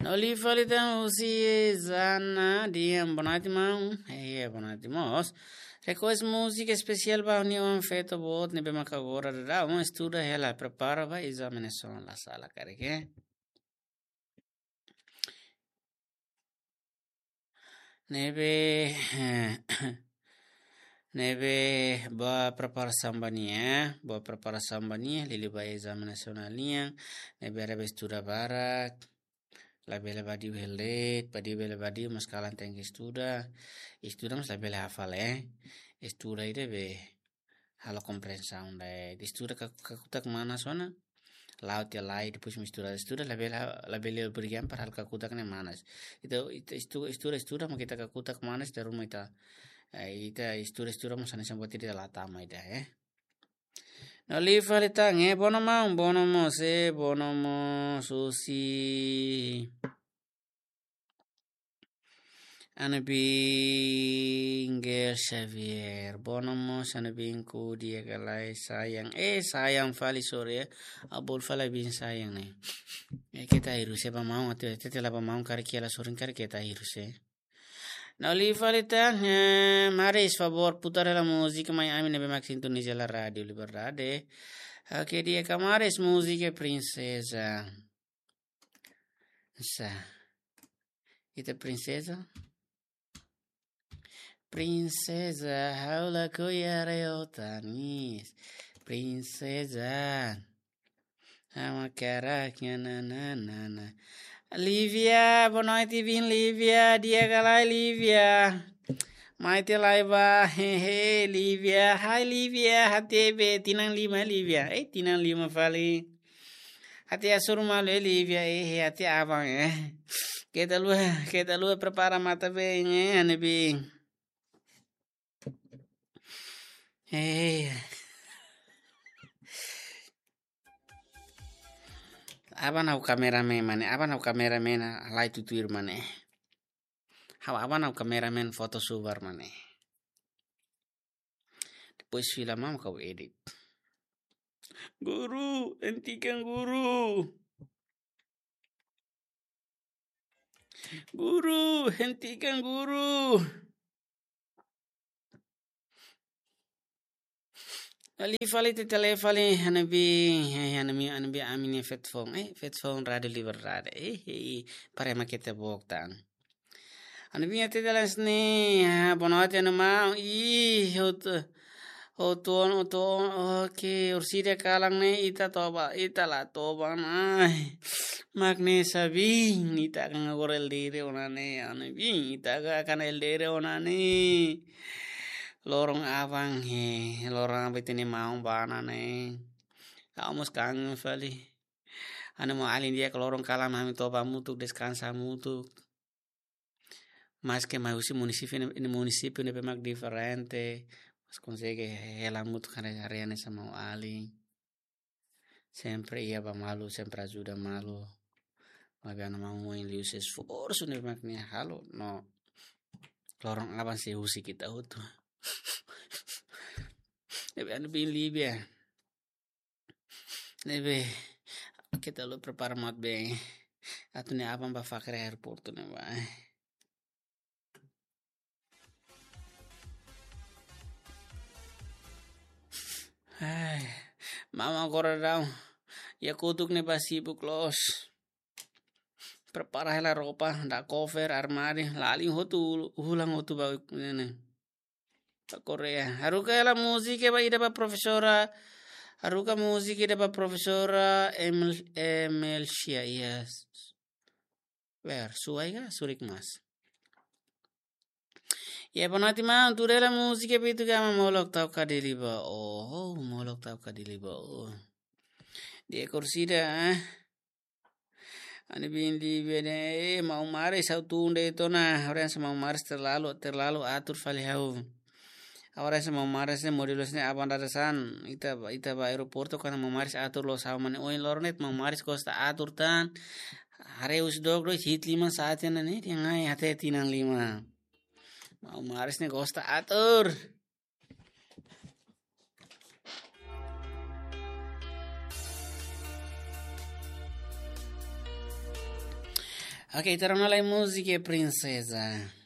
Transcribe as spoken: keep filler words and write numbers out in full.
No liu fali tan husi Zana Dian, boa noite, maun. Eh, boa noite, mós. Request múzika espesiál ba nia oan feto boot ne'ebé maka agora daudaun estuda hela, prepara ba ezame nasionál la sala karik, eh. Ne'ebé, ne'ebé boa preparasaun ba nia, boa preparasaun ba nia, liuliu ba ezame nasionál nian, ne'ebé ela bele estuda barak, labele vadiu hela de'it, vadiu bele vadiu, mas kalan tenke estuda, estuda mas labele hafal, eh. Estuda ida be halo komprensaun de'it. Estuda ka-, kakutak manas ona. La'o tiha lai, depois mak estuda. Estuda labele, labele obriga para halo kakutak ne'e manas. Ita, ita estu-, estuda, estuda, mak ita kakutak manas, ita ruma ita, eh, ita estuda, estuda, mas hanesan buat ida la tama ida, eh. No liu fali tan, eh, bono maun, bono mós, eh, bono mós, husi Ana Bingel Xavier. Bono mós Ana Bingku di'ak ka lae sayang. Eh, sayang fali, sorry, eh. Abol fali bin sayang ne'e. Eh, keta hirus, eh, ba maun, atu, atu, atu la ba maun, karik hela sorin, karik keta hirus, eh. No liu fali tan, eh, maris, favór, putar hela múzika mai ami ne'ebé mak sintoniza hela Rádiu Liberdade. Oke, di'ak ka maris múzika Prinseza. Sa. Ita Prinseza? Prinseza, ha'u lakohi haree ó tanis. Prinseza. Ha'u hakarak, na, na, na, na, na. Lívia, boa noite, bin Lívia. Di'ak ka lae, Lívia? Mai tiha lai ba, hehe, Lívia. Hai, Lívia. Hati be tinan lima, Lívia. Eh, tinan lima fali. Hati asur malu, eh, Lívia, eh, eh, hati aban, eh. Keta haluha, keta haluha prepara matan-been, eh, Ana Bin. Eh. Aban ha'u kameramen, mane, aban ha'u kameramen, ah, lai tutuir, mane. Ha'u aban ha'u kameramen foto subar, mane. Depois fila mak ha'u edit. Guru, hentikan guru. Guru, hentikan guru. Liu fali, tete liu fali, Ana Bin, eh, Ana Bin, Ana Bin, ami-nia feto foun, eh, feto foun Rádiu Liberdade, eh, eh, para ema keta bok tan. Ana Bin, tete liu sini, ah, boa noite, Ana Maun, ih, hotu, hotu, hotu, oke, orsida kalan ne'e, ita toba, ita la toba, ai, mak ne'e sabin, ita kan agora L D R ona ne'e, Ana Bin, ita kan L D R ona ne'e. Loron aban he, loron aban ita-nia maun bá ona ne'e. Ha'u mós kangen fali. Ha'u-nia maun-alin di'ak, loron kalan ami toba hamutuk, deskansa hamutuk. Maske mai husi munisípiu ne'e, munisípiu ne'ebé mak diferente, mas konsege hela hamutuk, haree, haree hanesan maun-alin. Sempre iha ba malu, sempre ajuda malu. Maibé Ana Maun Moin liuhusi esforsu ne'ebé mak nia halo, no loron aban sei husik ita hotu. Ne'ebé Ana Bin Lívia. Ne'ebé, keta haluha prepara matan-been. Atu nia aban bá fakar aeroportu ne'ebá. Ai, maun agora daudaun iha kotuk ne'ebá sibuk loos. Prepara hela roupa, dada cover, armáriu, lalin hotu, hulan hotu ba ne'e. Ba Koreia. Haruka hela múzika ba ida ba profesora. Haruka múzika ida ba profesora Emil-, Emelcia, yes. Ber, suai ka, surik mas. Ya, boa noite, maun. Tuur hela múzika ba ita ka, maun, molok tau ka dili ba. Oh, molok tau ka dili ba. Oh. Di'ak orsida, eh. Ana Bin Lívia ne'e, eh, maun Maris ha'u tun de'it ona, agora hanesan maun Maris terlalu, terlalu atur fali ha'u. Agora hanesan maun Maris ne'e modelu hanesan aban dadeer-saan, ita, ita ba aeroportu, kuandu maun Maris atur loos ha'u, mane, ohin loron ne'e maun Maris gosta atur tan, haree husi dook dois, hi'it liman sa'e tiha ona ne'e, dehan ai até tinan lima. Maun Maris ne'e gosta atur. Ok, ita rona lai múzika Princesa.